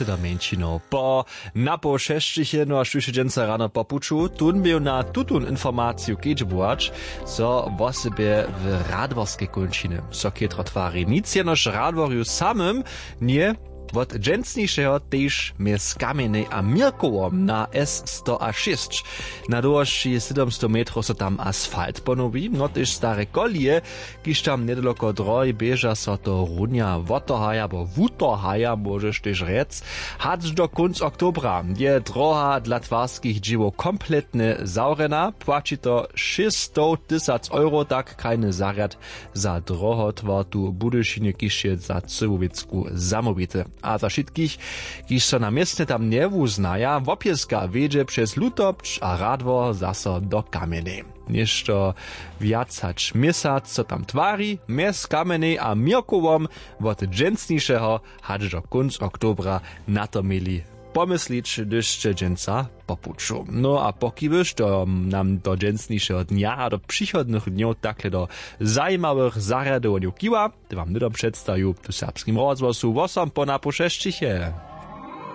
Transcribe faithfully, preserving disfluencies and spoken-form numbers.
Do mjeńšinow po napoł šesćich jedno a štuše dźensa rano po puću tón běł na tutón informaciju kedźbować, zo wosebje w radworskej kónčiny so chětro twari nic jenož radworju samym, nje wot dźensnišeho tež mjez kamjenej a měrkowom na s sto a šěsć. Na dowosći sydomstow metrow so tam asfalt ponowi no tež stare kolije, kiž tam njedaloko drohi běža so to runja wotohaja abo wutohaja móžeš tež rjec. Hač do kónc oktobra je droha dla twarskich dźěłow kompletnje zawrjena płaći to šěsćstowtysac euro tak krajny zarjad. Za drohotwar tu w budyšinje kiž je za cyłowěcku zamołwity a za wšitkich, kiž so na městnje tam njewuznaja wopěska wjedźe přez lutopć a radwor zaso do kamjenej. Něšto wjac hač měsac so tam twari mjez kamjenej a měrkowom, wot dźensnišeho hač do kónc oktobra. Na to měli pomyslić hdyž sće dźensa po puću no a pokiwyš to nam do dźensnišeho dnja a do přichodnych dnjow takle do zajimawych zarjadowanjow kiwa, te wam hnydom předstaju tu w serbskim rozhłosu wosom po napoł šesćiche.